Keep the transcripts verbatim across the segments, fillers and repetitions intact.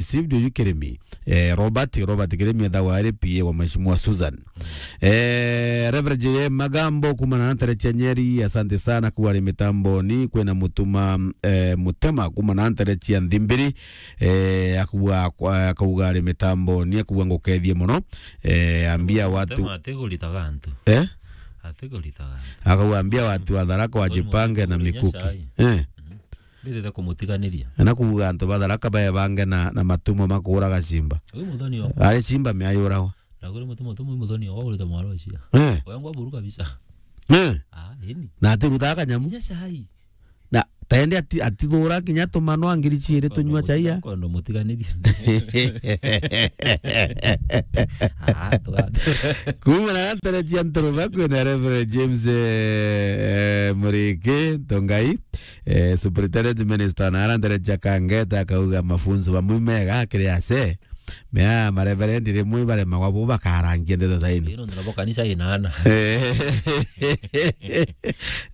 received uyu Kirimi. Eh, Robert, Robert Kirimi ethagwa ari P A wa Mheshimiwa Susan. Eh, Reverend J M Magambo, kuma na ntere cia Nyeri, asante sana, kuwa ari mitamboni, kwina Mutuma, eh, Mutema, kuma na ntere cia Nthimbiri, eh, akuwa, akauga ari mitamboni, akuwa ngukethie muno. Eh, ambia watu Mutema atiguritaga antu. Eh? Atiguritaga antu. Akauga ambia watu wa Tharaka wajipange na mikuki. Eh. Mbithite kumutiganiria. Na kuuga antu ba Tharaka bebange na, na matumo ma kuuraga cimba. Uyu muthoni o. Ari cimba miayuragwa. Na kuri mutumo tumu muthoni o urite mwaro cia. Eh. Oya ngwa buru kabisa. Eh. Ah, ini. Na atirutaga kanyamu. Nya cai. Na taende ati-, atithura kinya tumano angiri ciiri tunywa cai ya. Kondo mutiganirie. Ah, tuga. Kuma na ntere cia Nturuba kwina Reverend James, eh, eh, Muriki Tongai, eh, Superintendent Minister, na ara ntere cia Kangeta akauga mafunzo bamwe mega kiri ase. Mea mareverendi rimwe baremagwa bo bakarangia ndeto ta ino. Ino ndirabo kanisa inana. Eh.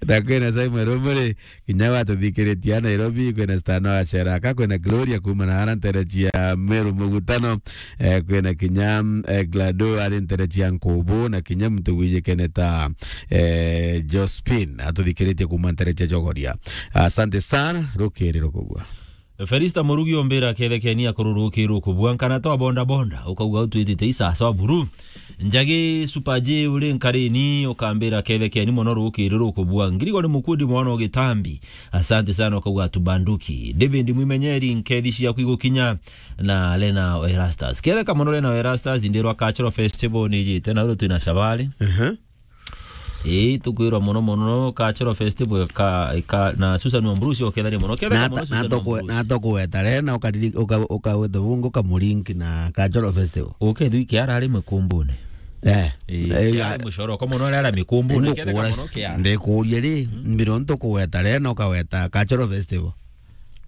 Na kwina Simon Rumuri, kinya watuthikiritie a Nairobi, kwina Stano wa Sheraka, kwina Gloria kuma na ara ntere cia Meru Mugutano, eh, kwina kinya, eh, Glado ari ntere cia Nkubu, na kinya muntu gwijikene ta, eh, Jospin, atuthikiritie kuma ntere cia Chogoria. Asante sana, rukiri rukugwa. Felista Murugi ombira kethekeni akorwo rukiri rukubua nkana twa bonda bonda, ukauga utwitite isasa wa buru. Njagi Super J uri nkarini, ukambira kethekeni mono rukiri rukubua. Ngirigo ni mukundi mwana o gitambi. Asante sana, ukauga tubanduki. David Mwimenyeri, nkethi ciaku igukinya na Lena Erastus. Ketheka mono Lena Erastus, ndirwa Cultural Festival ni ijite, na uru twina Shabari. Aha. Ii, tukwirwa mono mono Cultural Festival ka, ka, na Susan Wamburusi okethania mono. Ketheka mono Susan Wamburusi. Na tokwe-, na tokweta Lena, ukariri-, uka-, ukaweta bungu ukamurinki na Cultural Festival. Ukethwi kiara ari mikumbune. Eh. Eh, eh, kiara ya- mucoro, kwa mono aria mikumbune, ketheka mono kiara. Ndikuria ri, mbiro ntukuweta Lena, ukaweta Cultural Festival.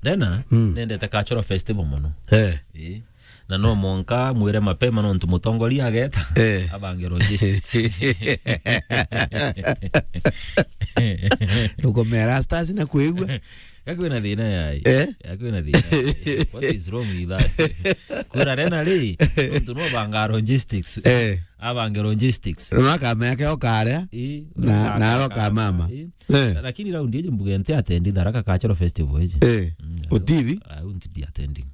Lena, mm, nendete Cultural Festival mono. Eh. Eh. Na no mwanka mwire mapema nontu mutongoria ageta, eh, abange logistics. Tukomera stars na kwigua. Gakwina thina yai. Eh? Gakwina thina yai. What is wrong with that? Kura Lena ri, nontu no banga logistics. Eh. Abange logistics. No akamea ke okaria. Ii, na, na aka-, aroka aka-, mama. Ii. Eh. Lakini raundi iji mbuge nti atendi Tharaka Cultural Festival iji. Eh. Mm, I won't, utithi? I won't be attending.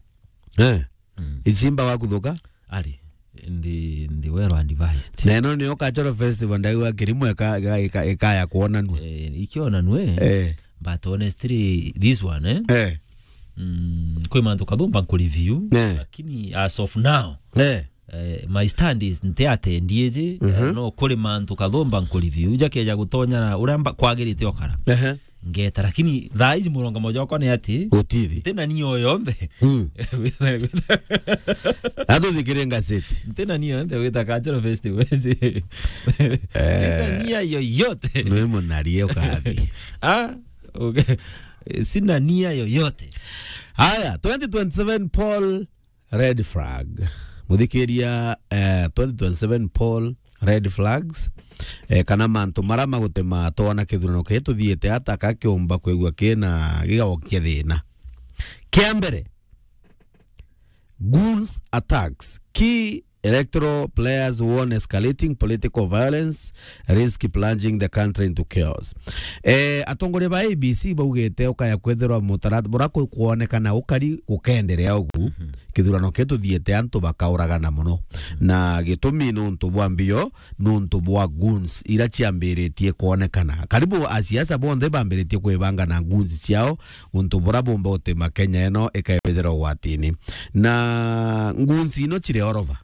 Eh. Mm. Ichimba wa kuthuka? Ari, ndi, ndi well advised. Na ino niyo Cultural Festival ndaigua Kirimu ika-, ika-, ika-, ikaya kuonanua. Eh, ikionanue. Eh. But honestly, this one, eh? Eh. Mm, kwi mantu kathumba nkureview, eh, lakini as of now, eh, eh, my stand is nti atendi iji, mhm, eh, no kuri mantu kathumba nkureview. Jakeja gutonya na uria mba-, kwagirite okara. Ehe. Ngeta, lakini thaa iji murongo moja wakwa ni ati, gutithi. Ntina niyo yonthe. Mm. Atuthikire ngaseti. Ntina niyo yonthe wita Cultural Festival. Eh. Sina nia yoyote. Nwe munarie ukathi. Ah, okay. Sina nia yoyote. Haya, twenty twenty-seven poll red flag. Muthikiria, eh, twenty twenty-seven poll red flags, eh, kana mantu mara magutema twona kithurano kii tuthiite ata, ka kiumba kwigua kina gigaokia thina. Kia mbere, goons attacks. Key electoral players warn escalating political violence risk plunging the country into chaos. Eh, atongoria ba A B C baugite ukaya kwithirwa mutarat-, bura ku-, kuonekana ukari gukenderea ugu, mhm, kithurano kii tuthiite antu bakauragana mono. Na gitumi nuntu bwa mbio, nuntu bwa goons ira ciambiritie kuonekana. Karibu asiasa bonthe bambiritie kwibanga na goons ciao, untu bura bumba utima Kenya ino ikaibithira ugwatini. Na goons ino ciri all over.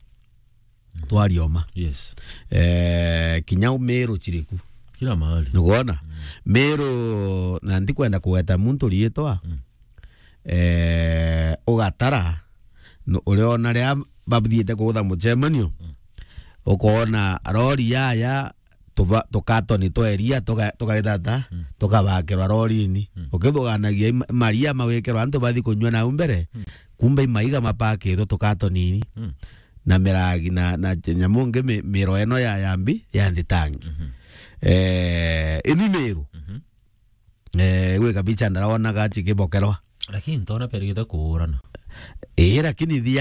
Twarioma. Yes. Eh, kinya Meru ciriku. Kila mahali. Nukwona? Mm. Meru, na ndikwenda kugweta muntu riitwa. Mm. Eh, ugatara, nu-, uriona ria bathiite kuutha mucemanio, mm, ukoona rori yaya, tuba-, tukatoni twa iria, tuka-, tukaritata, mm, tukabakirwa rorini. Mm. Ukithuganagia ima-, maria mawikirwa antu bathi kunyua nau mbere, mm, kumbe imaiga mapakitwe tukatonini. Mm. Na miragi na, na nyamu ngi mi-, miro ino ya, ya mbi, ya nthitangi. Mhm. Eh, ini Meru. Mhm. Eh, gwi kabicha ndaraonaga cikibokerwa. Lakini ntona perigite kuurana. Ii, lakini thi